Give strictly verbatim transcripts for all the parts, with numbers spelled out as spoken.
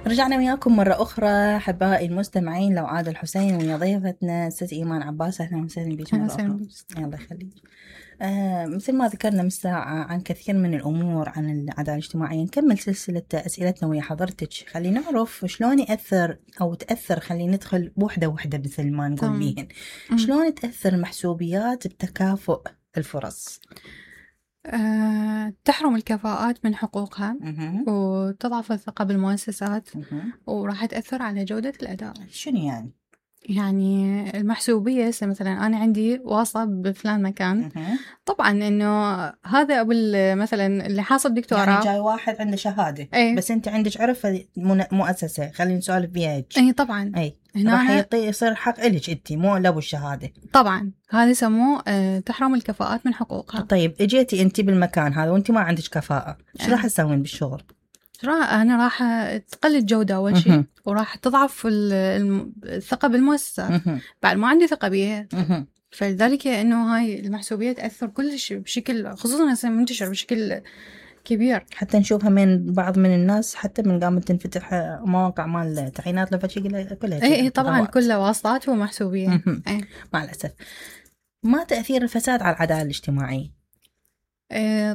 رجعنا وياكم مرة أخرى أحبائي المستمعين. لو عاد الحسين ويا ضيفتنا ست إيمان عباس. أهلا وسهلا بك مرة أخرى. الله يخليك. آه مثل ما ذكرنا من ساعة عن كثير من الأمور عن العدالة الاجتماعية. نكمل سلسلة أسئلتنا ويا حضرتك. خلينا نعرف شلون يأثر أو تأثر، خلينا ندخل وحدة وحدة مثل ما نقول بيهن. شلون تأثر المحسوبيات بتكافؤ الفرص؟ أه، تحرم الكفاءات من حقوقها مه. وتضعف الثقة بالمؤسسات، مه. وراح تأثر على جودة الأداء. شنو يعني؟ يعني المحسوبية مثلا أنا عندي واسطة بفلان مكان، مه. طبعا إنه هذا أبو مثلا اللي حاصل دكتوراه، يعني جاي واحد عنده شهادة أي. بس أنت عندك عرفة مؤسسة، خلينا نسولف بيها هيك. أي طبعا. أي هنا راح يعطي يصير حق إلك أنت مو لابو الشهادة. طبعا هذا يسموه أه تحرم الكفاءات من حقوقها. طيب اجيتي أنت بالمكان هذا وأنت ما عندك كفاءة، شو راح تسوين بالشغل؟ راح أنا راح تقل الجودة أول شيء، وراح تضعف الثقة بالمؤسسات. بعد ما عندي ثقة بيها، فلذلك إنه هاي المحسوبية تأثر كلش بشكل، خصوصا هسه منتشر بشكل كبير. حتى نشوفها من بعض من الناس، حتى من قامت تنفتح مواقع مال تعيينات لفتشي كلها. اي اي طبعا كلها واسطات ومحسوبية. مع الأسف. ما تأثير الفساد على العدالة الاجتماعية؟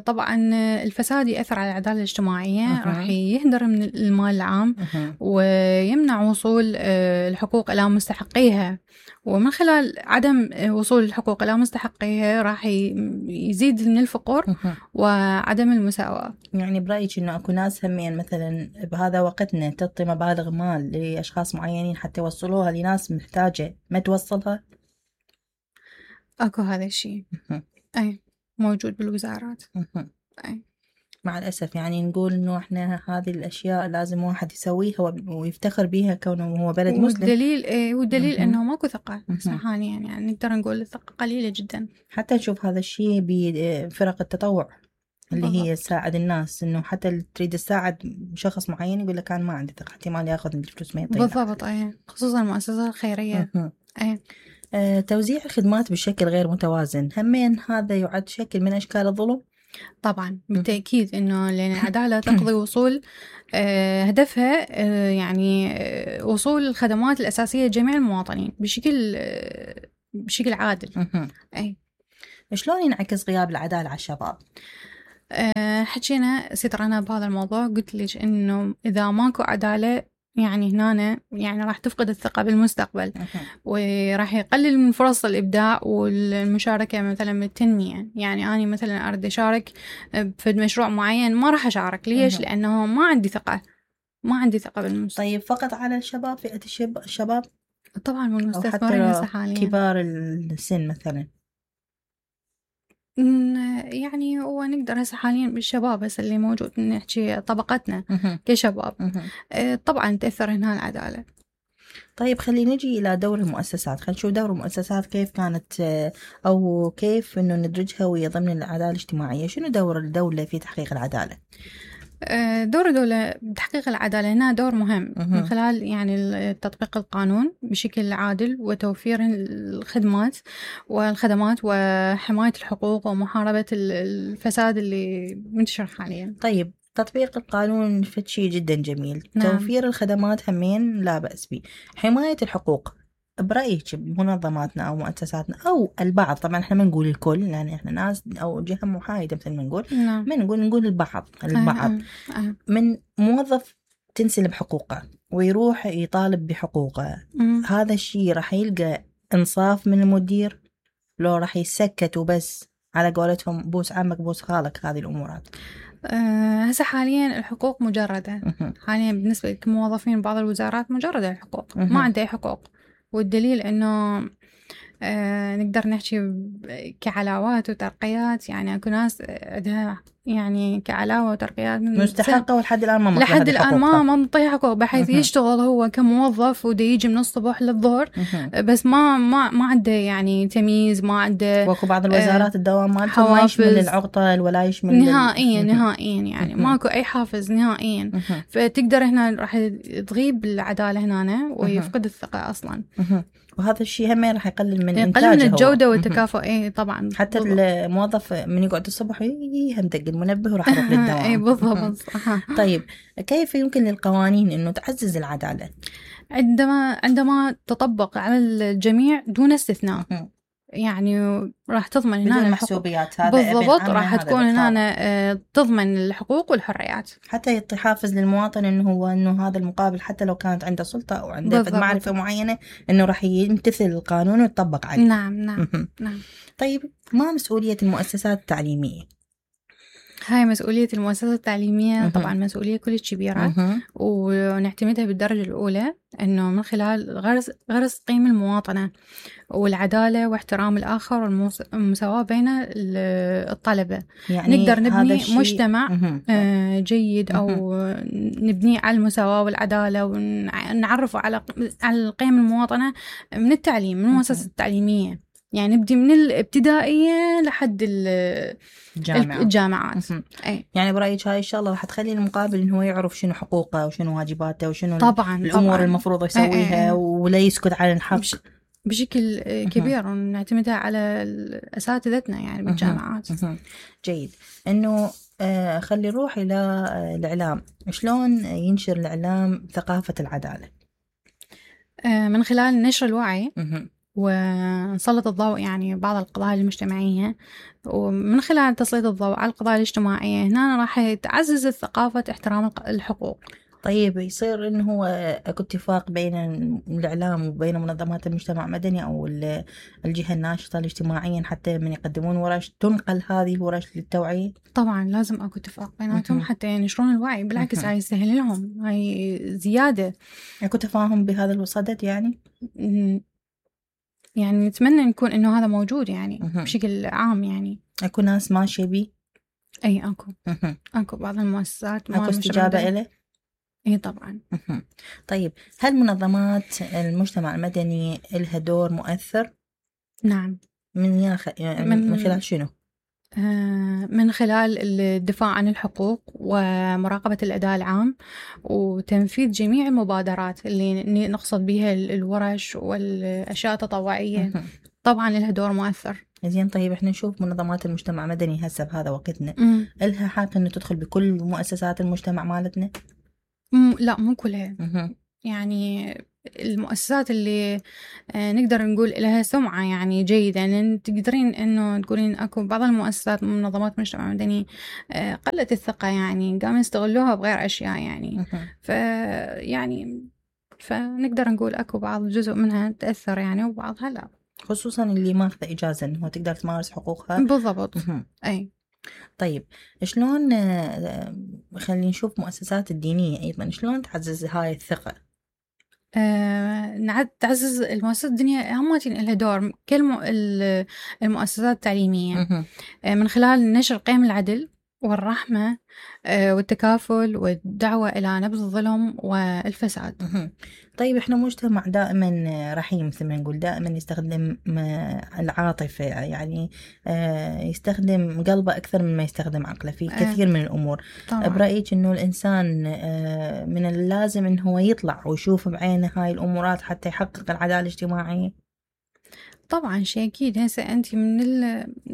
طبعا الفساد يأثر على العدالة الاجتماعية، راح يهدر من المال العام ويمنع وصول الحقوق إلى مستحقيها، ومن خلال عدم وصول الحقوق إلى مستحقيها راح يزيد من الفقر وعدم المساواة. يعني برأيك إنه أكو ناس همين مثلا بهذا وقتنا تعطي مبالغ مال لأشخاص معينين حتى يوصلوها لناس محتاجة ما توصلها؟ أكو هذا الشيء. أي موجود بالوزارات. أي. مع الأسف يعني نقول إنه إحنا هذه الأشياء لازم واحد يسويها ويفتخر بيها كونه هو بلد مسلم. والدليل إيه والدليل إنه ماكو ثقة حاليا، يعني نقدر نقول الثقة قليلة جدا. حتى نشوف هذا الشيء بفرق التطوع اللي بالضبط. هي تساعد الناس، إنه حتى تريد تساعد شخص معين يقول لك أنا ما عندي ثقة احتمال يأخذ من الفلوس ما يعطينا. بالضبط. أيه خصوصا المؤسسات الخيرية. أيه. آه، توزيع الخدمات بشكل غير متوازن همين هذا يعد شكل من أشكال الظلم؟ طبعا بالتأكيد، إنه لأن العدالة تقضي وصول آه هدفها آه يعني آه وصول الخدمات الأساسية لجميع المواطنين بشكل آه بشكل عادل. أي. شلون ينعكس غياب العدالة على الشباب؟ أه حكينا سترنا بهذا الموضوع، قلت لك إنه إذا ماكو عدالة يعني هنا يعني راح تفقد الثقة بالمستقبل، وراح يقلل من فرص الإبداع والمشاركة مثلا بالتنمية. يعني أنا مثلا أريد أشارك في مشروع معين ما راح أشارك، ليش؟ لأنه ما عندي ثقة ما عندي ثقة بالمستقبل. طيب فقط على الشباب، فئة الشباب؟ طبعا والمستثمرين هسه حاليا كبار السن مثلا؟ يعني هو نقدر هسه حاليا بالشباب بس اللي موجود نحكي طبقتنا كشباب. طبعا تأثر هنا العدالة. طيب خلينا نجي إلى دور المؤسسات. خلينا نشوف دور المؤسسات كيف كانت أو كيف إنه ندرجها ويا ضمن العدالة الاجتماعية. شنو دور الدولة في تحقيق العدالة؟ دور الدولة بتحقيق العدالة هنا دور مهم من خلال يعني تطبيق القانون بشكل عادل وتوفير الخدمات والخدمات وحماية الحقوق ومحاربة الفساد اللي منتشر حاليا. طيب تطبيق القانون شيء جدا جميل. نعم. توفير الخدمات همين لا بأس به. حماية الحقوق برأيك منظماتنا أو مؤسساتنا أو البعض، طبعا احنا ما نقول الكل لأن احنا ناس أو جهة محايدة مثل ما نقول. نعم. ما نقول نقول البعض البعض أه أه. من موظف تنسلب حقوقه ويروح يطالب بحقوقه، مم. هذا الشيء راح يلقى إنصاف من المدير لو راح يسكت وبس على قولتهم بوس عمك بوس خالك هذه الأمورات؟ أه هسه حاليا الحقوق مجردة. حاليا بالنسبة للموظفين بعض الوزارات مجردة الحقوق، ما عنده أي حقوق. والدليل إنه آه نقدر نحكي كعلاوات وترقيات، يعني أكو ناس عندها يعني كعلاوة وترقيات مستحقة ولحد الآن ما مطلع لحد الآن ما ما مطيح حقوق، بحيث يشتغل هو كموظف وده يجي من الصبح للظهر بس ما ما ما عنده يعني تمييز، ما عنده. وأكو بعض الوزارات الدوام مالتهم ما يشمل العقطة ولا يشمل نهائيا نهائيا يعني ماكو أي حافز نهائيا. فتقدر هنا راح تغيب العدالة هنا ويفقد الثقة أصلا. وهذا الشيء هم راح يقلل من يقلل من الجودة والتكافؤ. إيه طبعا. حتى الموظف من يقعد الصبح هم دق المنبه وراح أروح للدوام. اي بالضبط. طيب كيف يمكن للقوانين إنه تعزز العدالة؟ عندما عندما تطبق على الجميع دون استثناء، يعني راح تضمن هنا المحسوبيات. هذا بالضبط، راح تكون هنا تضمن الحقوق والحريات، حتى يحافظ للمواطن انه هو انه هذا المقابل حتى لو كانت عنده سلطة او عنده معرفة معينة انه راح يمتثل القانون ويطبق عليه. نعم نعم نعم. طيب ما مسؤولية المؤسسات التعليمية؟ هاي مسؤولية المؤسسات التعليمية طبعا مسؤولية كلش كبيرة، ونعتمدها بالدرجة الأولى إنه من خلال غرس غرس قيم المواطنة والعدالة واحترام الآخر والمساواة بين الطلبة. يعني نقدر نبني مجتمع جيد أو نبنيه على المساواة والعدالة، ونعرفه على على القيم المواطنة من التعليم، من المؤسسات التعليمية. يعني نبدي من الابتدائية لحد الجامعة. الجامعات. أي. يعني برأيك هاي الشغلة راح تخلي المقابل إنه هو يعرف شنو حقوقه وشنو واجباته وشنو طبعاً الأمور طبعاً. المفروض يسويها أي أي. ولا يسكت على الحق بشكل كبير، ونعتمدها على أساتذتنا يعني بالجامعات. جيد. إنه آه خلي نروح إلى الإعلام. شلون ينشر الإعلام ثقافة العدالة؟ آه من خلال نشر الوعي ونسلط الضوء يعني بعض القضايا المجتمعية، ومن خلال تسليط الضوء على القضايا الاجتماعية هنا راح تعزز الثقافة احترام الحقوق. طيب يصير إنه هو أكو اتفاق بين الإعلام وبين منظمات المجتمع المدني أو الجهة الناشطة الاجتماعيا حتى من يقدمون ورش تنقل هذه ورش للتوعية؟ طبعا لازم أكو اتفاق بيناتهم حتى ينشرون الوعي. بالعكس هاي يسهل لهم، هاي زيادة. أكو تفاهم بهذا الصدد يعني؟ يعني نتمنى نكون إنه هذا موجود يعني بشكل عام. يعني أكو ناس ماشية بي؟ أي أكو أكو بعض المؤسسات أكو استجابة إله؟ إيه طبعا. طيب هل منظمات المجتمع المدني لها دور مؤثر؟ نعم. من ياخ... من, من خلال شنو؟ من خلال الدفاع عن الحقوق ومراقبة الأداء العام وتنفيذ جميع المبادرات اللي نقصد بها الورش والأشياء التطوعية. طبعا لها دور مؤثر. زين. طيب احنا نشوف منظمات المجتمع المدني هسه بهذا وقتنا م. لها حق انه تدخل بكل مؤسسات المجتمع مالتنا؟ م. لا مو كلها. يعني المؤسسات اللي نقدر نقول لها سمعة يعني جيدة، لأن تقدرين إنه تقولين أكو بعض المؤسسات منظمات مجتمع مدني قلت الثقة، يعني قاموا يستغلوها بغير أشياء يعني. فيعني فنقدر نقول أكو بعض جزء منها تأثر يعني وبعضها لا، خصوصا اللي ماخذة إجازة إنه تقدر تمارس حقوقها. بالضبط. أي. طيب شلون خلينا نشوف مؤسسات الدينية أيضا شلون تعزز هاي الثقة؟ آه، تعزز المؤسسات الدينية هماتين لها دور كالمؤسسات التعليمية آه، من خلال نشر قيم العدل والرحمة آه، والتكافل والدعوة إلى نبذ الظلم والفساد. طيب إحنا مجتمع دائما رحيم مثل ما نقول، دائما يستخدم العاطفة، يعني يستخدم قلبه أكثر مما يستخدم عقله في كثير من الأمور. طبعا. برأيك إنه الإنسان من اللازم إنه هو يطلع ويشوف بعينه هاي الأمورات حتى يحقق العدالة الاجتماعية؟ طبعا شيء أكيد. هسه أنت من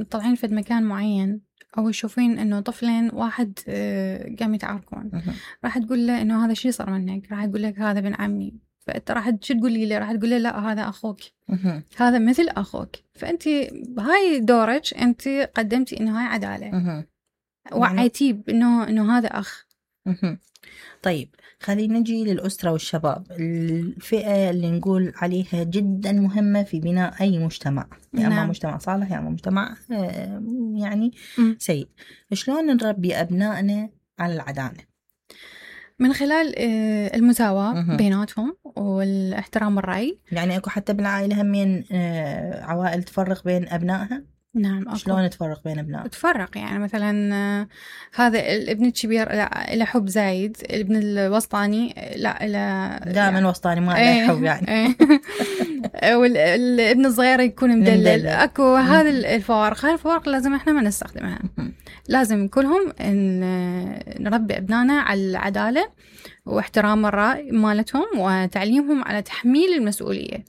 طالعين في مكان معين أو يشوفين إنه طفلين واحد قام يتعاركون، راح تقول له إنه هذا شيء صار منك، راح تقول لك هذا بن عمي، فأنت راح شو تقولي له؟ راح تقول له لا هذا أخوك، هذا مثل أخوك. فأنت هاي دورك، أنت قدمتي إنه هاي عدالة، وعيتيه بإنه إنه هذا أخ. طيب خلينا نجي للأسرة والشباب، الفئة اللي نقول عليها جدا مهمة في بناء أي مجتمع، يا يعني أما مجتمع صالح يا يعني أما مجتمع يعني سيء. شلون نربي أبنائنا على العدالة؟ من خلال المساواة بيناتهم والاحترام الرأي. يعني أكو حتى بالعائلة همين عوائل تفرق بين أبنائها؟ نعم أكو. شلون تفرق بين أبنائها؟ تفرق يعني مثلا هذا الابن الكبير لا إلى حب زايد، الابن الوسطاني لا إلى دائما وسطاني ما له حب يعني. والابن الصغير يكون مدلل. أكو هذا الفوارق، هاي الفوارق لازم إحنا ما نستخدمها. لازم كلهم نربي أبنائنا على العدالة واحترام الرأي مالتهم وتعليمهم على تحميل المسؤولية.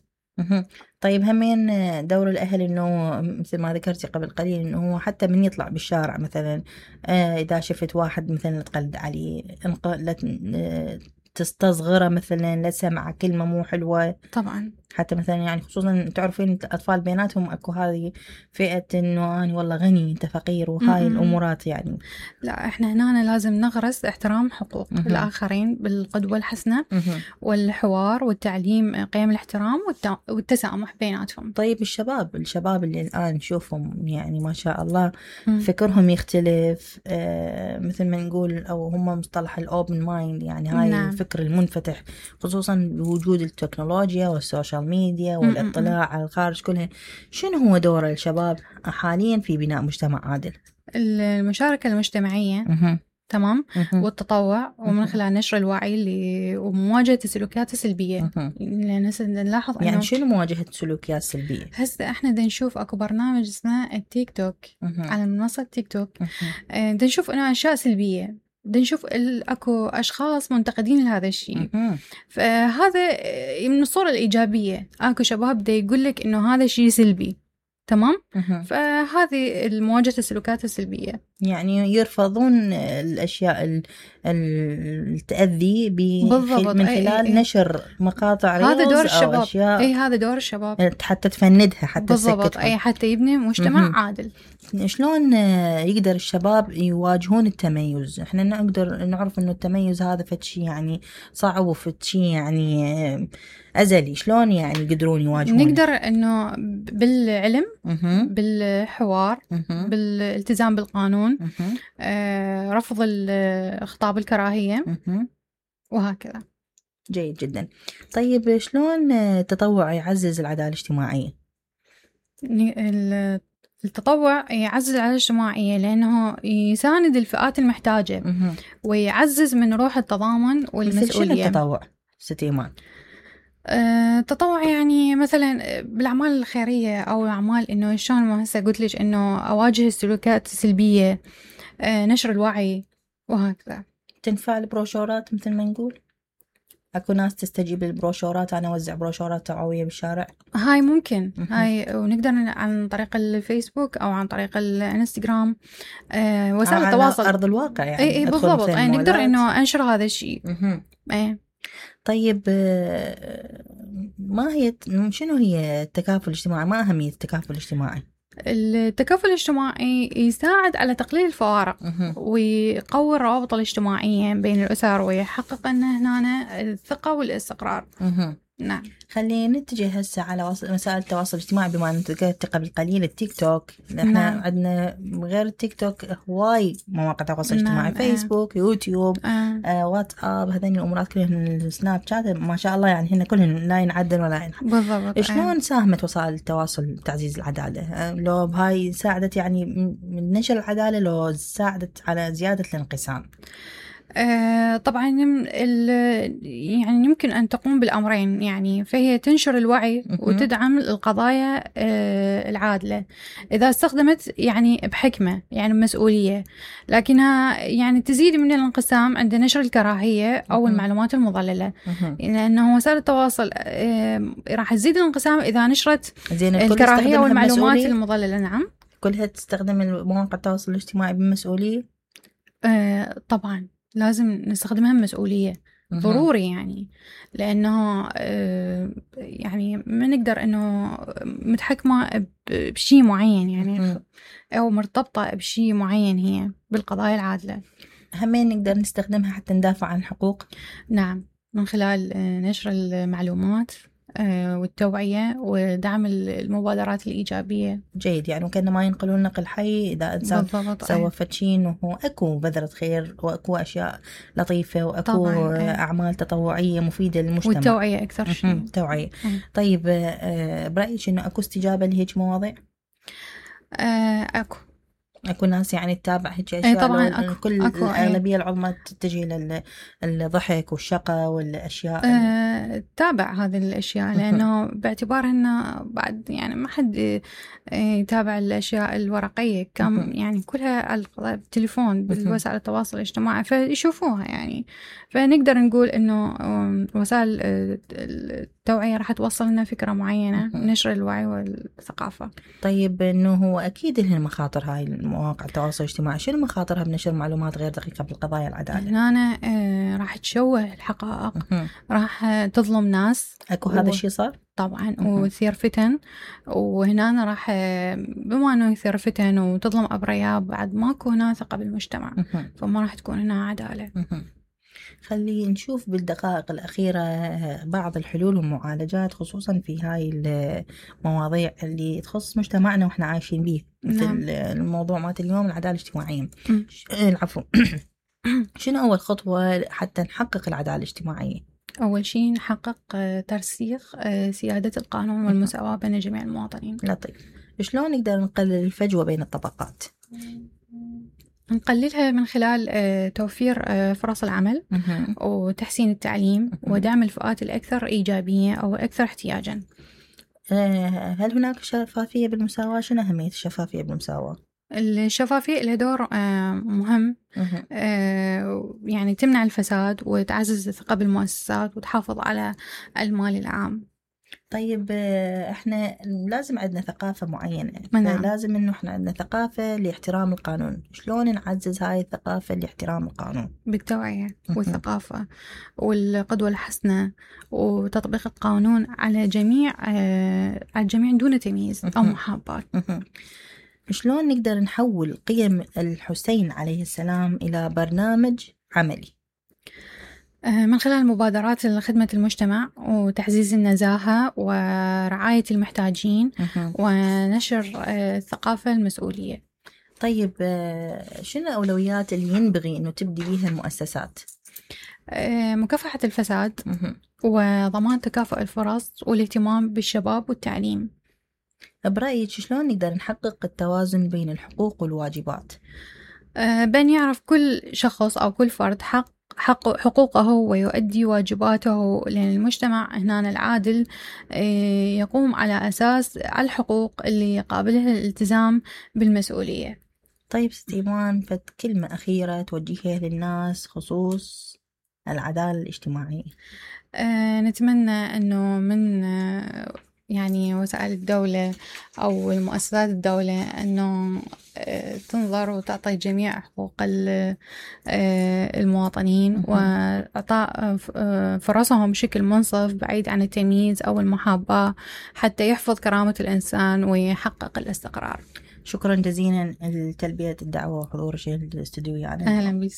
طيب همين دور الأهل إنه مثل ما ذكرتي قبل قليل إنه هو حتى من يطلع بالشارع مثلا آه إذا شفت واحد مثلا تقلد عليه لا تستصغره مثلا لا سمع كلمة مو حلوة طبعا. حتى مثلا يعني خصوصا تعرفين الأطفال بيناتهم أكو هذه فئة إنه أنا والله غني أنت فقير وهاي م-م. الأمورات يعني. لا إحنا هنا لازم نغرس احترام حقوق م-م. الآخرين بالقدوة الحسنة م-م. والحوار والتعليم قيم الاحترام والت... والتسامح بيناتهم. طيب الشباب الشباب اللي الآن نشوفهم يعني ما شاء الله م-م. فكرهم يختلف آه مثل ما نقول أو هم مصطلح الأوبن مايند يعني هاي نعم. الفكر المنفتح خصوصا بوجود التكنولوجيا والسوشيال ميديا والاطلاع على الخارج كلها. شنو هو دور الشباب حاليا في بناء مجتمع عادل؟ المشاركة المجتمعية م-م. تمام م-م. والتطوع ومن خلال نشر الوعي اللي ومواجهة السلوكيات السلبية. لأن هسه نلاحظ يعني شنو مواجهة السلوكيات السلبية؟ هسه احنا دا نشوف اكو برنامج اسمه التيك توك م-م. على منصة تيك توك دا نشوف انه اشياء سلبية دا نشوف اكو اشخاص منتقدين لهذا الشيء فهذا من الصورة الإيجابية. اكو شباب دا يقول لك انه هذا شيء سلبي تمام م-م. فهذه المواجهة السلوكات السلبية يعني يرفضون الأشياء التأذي من خلال أي أي. نشر مقاطع ريلز هذا دور الشباب. أو أشياء أي هذا دور الشباب حتى تفندها حتى بالضبط أي حتى يبني مجتمع م-م. عادل. شلون يقدر الشباب يواجهون التميز؟ احنا نقدر نعرف انه التميز هذا فتشي يعني صعب وفتشي يعني أزلي. شلون يعني يقدرون يواجهون؟ نقدر انه بالعلم م-م. بالحوار م-م. بالالتزام بالقانون آه، رفض خطاب الكراهية م-م. وهكذا. جيد جدا. طيب شلون التطوع يعزز العدالة الاجتماعية؟ التطوع يعزز العدالة الاجتماعية لأنه يساند الفئات المحتاجة م-م. ويعزز من روح التضامن والمسؤولية. شنو التطوع ست إيمان؟ التطوع يعني مثلا بالأعمال الخيرية أو أعمال إنه شلون ما هسه قلت لك إنه أواجه السلوكيات السلبية نشر الوعي وهكذا. تنفع البروشورات مثل ما نقول؟ أكو ناس تستجيب للبروشورات أنا أوزع بروشورات توعوية بالشارع؟ هاي ممكن م-م. هاي ونقدر عن طريق الفيسبوك أو عن طريق الانستغرام آه وسائل التواصل على أرض الواقع يعني. أي بالضبط يعني نقدر إنه أنشر هذا الشيء. أي طيب ما هي شنو هي التكافل الاجتماعي؟ ما أهمية التكافل الاجتماعي؟ التكافل الاجتماعي يساعد على تقليل الفوارق ويقوي الروابط الاجتماعية بين الأسر ويحقق أن هنا الثقة والاستقرار. نعم. خلينا نتجه هسه على وسائل التواصل الاجتماعي بما أن ذكرت قبل قليل التيك توك. احنا نعم. عندنا غير التيك توك هواي مواقع تواصل اجتماعي. نعم. فيسبوك آه. يوتيوب آه. آه واتساب هذين الأمورات كلهن السناب شات ما شاء الله يعني هن كلهن لا ينعدل ولا ينحد. بالضبط. شلون آه. ساهمت وسائل التواصل بتعزيز العدالة؟ آه لو بهاي ساعدت يعني من نشر العدالة لو ساعدت على زيادة الانقسام؟ آه طبعا يعني يمكن أن تقوم بالأمرين يعني فهي تنشر الوعي وتدعم القضايا آه العادلة إذا استخدمت يعني بحكمة يعني بمسؤولية لكنها يعني تزيد من الانقسام عند نشر الكراهية أو المعلومات المضللة لأنه وسائل التواصل آه راح تزيد الانقسام إذا نشرت الكراهية والمعلومات المضللة. نعم كلها تستخدم مواقع التواصل الاجتماعي بمسؤولية؟ آه طبعا لازم نستخدمها بمسؤولية ضروري يعني لأنه يعني ما نقدر أنه متحكمة بشيء معين يعني أو مرتبطة بشيء معين هي بالقضايا العادلة. همين نقدر نستخدمها حتى ندافع عن الحقوق؟ نعم من خلال نشر المعلومات والتوعية ودعم المبادرات الإيجابية. جيد يعني وكأنما ما ينقلون نقل حي إذا إنسان سوى فتشين وهو أكو بذرة خير وأكو أشياء لطيفة وأكو طبعاً. أعمال تطوعية مفيدة للمجتمع والتوعية أكثر شيء. توعية. طيب برأيك إنه أكو استجابة لهيج مواضيع؟ أكو أكو ناس يعني تتابع هيك أشياء؟ طبعا أكو. كل أكو الأغلبية العظمى تتجه للضحك والشقة والأشياء أه تتابع هذه الأشياء لأنه باعتبار أنه بعد يعني ما حد يتابع الأشياء الورقية كم يعني كلها على التليفون بالوسائل التواصل الاجتماعي فيشوفوها يعني فنقدر نقول أنه وسائل التوعية راح توصل لنا فكرة معينة، نشر الوعي والثقافة. طيب إنه هو أكيد لها مخاطر هاي المواقع التواصل الاجتماعي، شنو مخاطرها بنشر معلومات غير دقيقة بالقضايا العدالة؟ هنا آه راح تشوه الحقائق، راح تظلم ناس. أكو هذا الشيء صار؟ طبعا، ويثير فتن، وهنا راح بما انه يثير فتن وتظلم ابرياء بعد ماكو هنا ثقة بالمجتمع، فما راح تكون هنا عدالة. خلي نشوف بالدقائق الأخيرة بعض الحلول والمعالجات خصوصا في هاي المواضيع اللي تخص مجتمعنا وإحنا عايشين به، مثل نعم. الموضوع مات اليوم العدالة الاجتماعية. العفو. شنو أول خطوة حتى نحقق العدالة الاجتماعية؟ أول شيء نحقق ترسيخ سيادة القانون والمساواة بين جميع المواطنين. لطيف. شلون نقدر نقلل الفجوة بين الطبقات؟ نقللها من خلال توفير فرص العمل وتحسين التعليم ودعم الفئات الأكثر إيجابية أو أكثر احتياجا. هل هناك شفافية بالمساواة؟ شنو أهمية الشفافية بالمساواة؟ الشفافية لها دور مهم، يعني تمنع الفساد وتعزز الثقة بالمؤسسات وتحافظ على المال العام. طيب احنا لازم عندنا ثقافة معينة، نعم. لازم انه احنا عندنا ثقافة لاحترام القانون. شلون نعزز هاي الثقافة لاحترام القانون؟ بالتوعية والثقافة والقدوة الحسنة وتطبيق القانون على جميع على الجميع دون تمييز أو محاباة. شلون نقدر نحول قيم الحسين عليه السلام إلى برنامج عملي؟ من خلال مبادرات خدمة المجتمع وتعزيز النزاهة ورعاية المحتاجين ونشر الثقافة المسؤولية. طيب شنو الأولويات اللي ينبغي أنه تبدي بيها المؤسسات؟ مكافحة الفساد وضمان تكافؤ الفرص والاهتمام بالشباب والتعليم. برأيك شلون نقدر نحقق التوازن بين الحقوق والواجبات؟ بأن يعرف كل شخص أو كل فرد حق حق حقوقه ويؤدي واجباته، لأن المجتمع هنا العادل يقوم على أساس الحقوق اللي قابلها الالتزام بالمسؤولية. طيب ست إيمان، فت كلمة أخيرة توجهها للناس خصوص العدالة الاجتماعية؟ أه نتمنى أنه من يعني وسائل الدولة أو المؤسسات الدولة أنه تنظر وتعطي جميع حقوق المواطنين وإعطاء فرصهم بشكل منصف بعيد عن التمييز أو المحاباة حتى يحفظ كرامة الإنسان ويحقق الاستقرار. شكرا جزيلا لتلبية الدعوة وحضور الاستوديو. يعني أهلا بك.